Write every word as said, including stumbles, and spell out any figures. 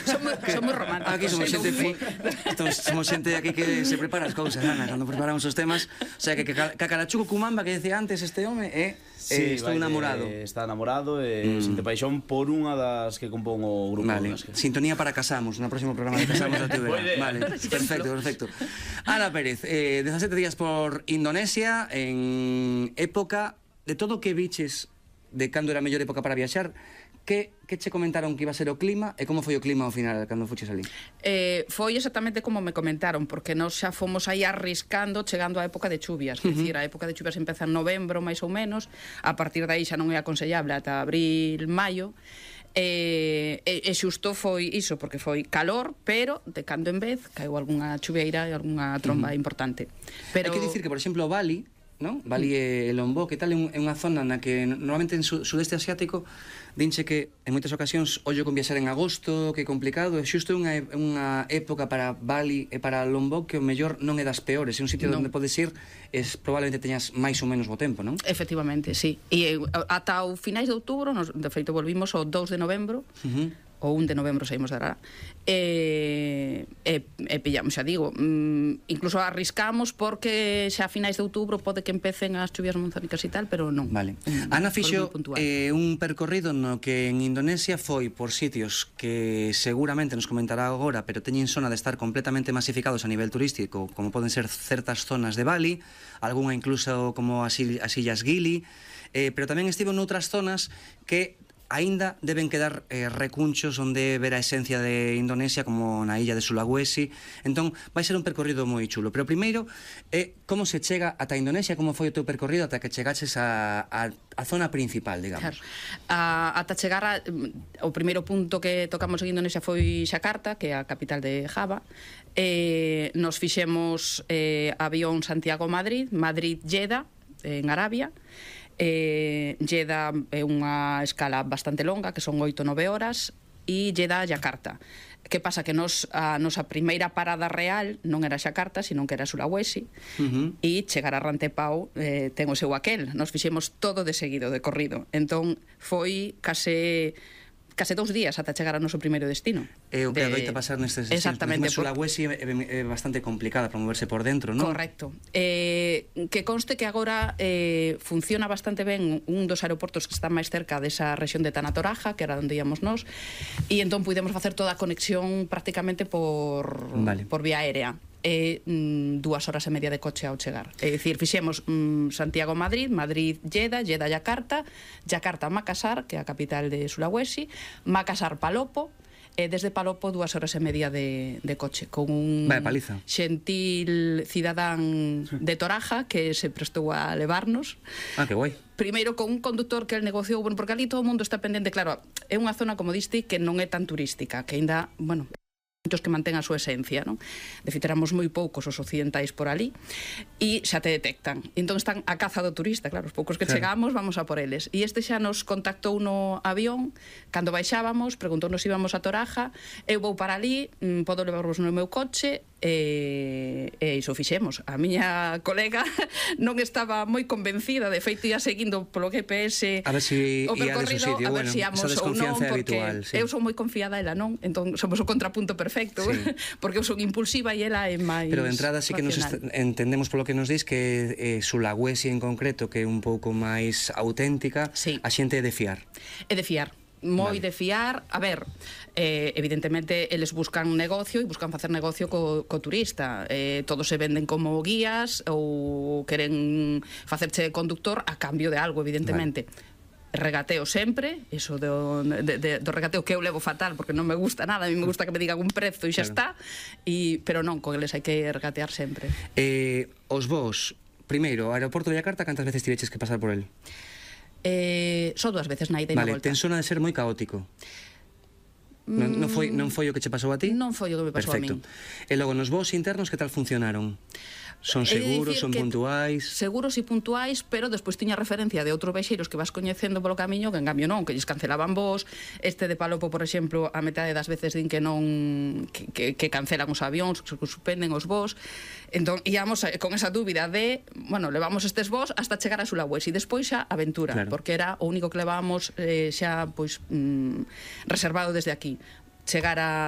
Somos románticos. Aquí somos xente somos xente aquí que se prepara as cousas, Ana, cando preparamos os temas. O sea, que Cacarachuco Cumamba, que decía antes este home, é estou enamorado. Está enamorado e sinte paixón por unha das que compón o grupo. Vale, sintonía para Casamos, no próximo programa de Casamos da T V. Vale, perfecto, perfecto. Ana Pérez, dezasete días por Indonesia, en época de todo o que viches de cando era a mellor época para viaxar. Que, que che comentaron que iba a ser o clima e como foi o clima ao final cando fuches ali? Eh, foi exactamente como me comentaron, porque nós xa fomos aí arriscando chegando á época de chuvias, uh -huh. Dicir, a época de chuvias empeza en novembro, máis ou menos, a partir de aí xa non é aconsellable ata abril, maio, e, e, e xusto foi iso, porque foi calor, pero de cando en vez caeu algunha chuvieira e algunha tromba uh -huh. importante. Pero... Hai que dicir que, por exemplo, Bali, ¿no? Bali e Lombok, que tal é unha zona na que normalmente en su, sudeste asiático dinche que en moitas ocasións ollo con viaxar en agosto, que é complicado, e xusto é unha, unha época para Bali e para Lombok que o mellor non é das peores, é un sitio non. onde podes ir es, probablemente teñas máis ou menos bo tempo, non? Efectivamente, sí. E ata o finais de outubro, nos, de feito volvimos o dous de novembro, uh -huh. o un de novembro saímos de Arara e, e, e pillamos, xa digo mm, incluso arriscamos porque xa a finais de outubro pode que empecen as chuvias monzónicas e tal, pero non. Vale. Mm, Ana fixo eh, un percorrido no que en Indonesia foi por sitios que seguramente nos comentará agora, pero teñen zona de estar completamente masificados a nivel turístico, como poden ser certas zonas de Bali, algunha incluso como as, as Illas Gili, eh, pero tamén estivo noutras zonas que aínda deben quedar eh, recunchos onde ver a esencia de Indonesia, como na illa de Sulawesi. Entón, vai ser un percorrido moi chulo. Pero primeiro, eh, como se chega ata Indonesia, como foi o teu percorrido ata que chegaches a, a, a zona principal, digamos? Claro. A, ata chegar a, o primeiro punto que tocamos en Indonesia foi Xakarta, que é a capital de Java. Eh, nos fixemos eh, avión Santiago-Madrid, Madrid-Jeddah, en Arabia. Eh, Jeddah é unha escala bastante longa, que son oito nove horas, e Jeddah a Yakarta. Que pasa? Que nos, a nosa primeira parada real non era Xakarta, sino que era Sulawesi, uh -huh. e chegar a Rantepao eh, ten o seu aquel. Nos fixemos todo de seguido, de corrido. Entón, foi case... case dous días ata chegar ao noso primeiro destino. É o que adoita pasar nestes destinos. Exactamente. Sulawesi é bastante complicada para moverse por dentro, non? Correcto. Eh, que conste que agora eh, funciona bastante ben un dos aeroportos que está máis cerca desa rexión de Tanatoraja, que era onde íamos nós, e entón pudemos facer toda a conexión prácticamente por, vale. por vía aérea. E mm, dúas horas e media de coche ao chegar. É dicir, fixemos mm, Santiago-Madrid, Madrid-Jeddah, Jeddah-Yakarta, Yakarta-Makassar, que é a capital de Sulawesi, Makassar-Palopo, e desde Palopo dúas horas e media de, de coche, con un xentil cidadán de Toraja que se prestou a levarnos. Ah, que guai. Primeiro con un conductor que el negociou, bueno, porque ali todo o mundo está pendente, claro, é unha zona, como diste, que non é tan turística, que ainda, bueno, muitos que mantén a súa esencia, non? De feito, éramos moi poucos os occidentais por ali e xa te detectan. Entón están a caza do turista, claro, os poucos que claro. chegamos vamos a por eles. E este xa nos contactou no avión, cando baixábamos, preguntou-nos se íbamos a Toraja, eu vou para ali, podo levarvos no meu coche, e, e iso fixemos. A miña colega non estaba moi convencida, de feito ia seguindo polo G P S a ver si o percorrido, sitio, a ver bueno, si íamos ou non, porque habitual, sí. eu son moi confiada, ela non, entón somos o contrapunto perfecto, sí. porque eu son impulsiva e ela é máis. Pero de entrada sí que nos entendemos polo que nos dis que eh, Sulawesi en concreto, que é un pouco máis auténtica, sí. a xente é de fiar. É de fiar. Moi vale. de fiar. A ver, eh, evidentemente eles buscan negocio e buscan facer negocio co, co turista, eh, todos se venden como guías ou queren facerche conductor a cambio de algo, evidentemente. Vale. Regateo sempre, iso do, de, de, do regateo que eu levo fatal porque non me gusta nada, a mí me gusta que me digan un prezo e xa claro. está, e, pero non, con eles hai que regatear sempre. Eh, os vos, primeiro, o aeroporto de Yakarta, cantas veces tiveches que pasar por el? Eh, só dúas veces na ida e vale, na volta. ten zona de ser moi caótico. Non, non, foi, non foi o que che pasou a ti? Non foi o que me pasou Perfecto. a min. E logo, nos voos internos, que tal funcionaron? Son seguros, son puntuais? Seguros e puntuais, pero despois tiña referencia de outros vexeiros que vas coñecendo polo camiño, que en cambio non, que lles cancelaban vos. Este de Palopo, por exemplo, a metade das veces din que non que, que, que cancelan os avións, que suspenden os vos. Entón, íamos con esa dúbida de, bueno, levamos estes vos hasta chegar a Sulawesi, e despois xa aventura, claro. porque era o único que levábamos eh, xa pois mm, reservado desde aquí. Chegar a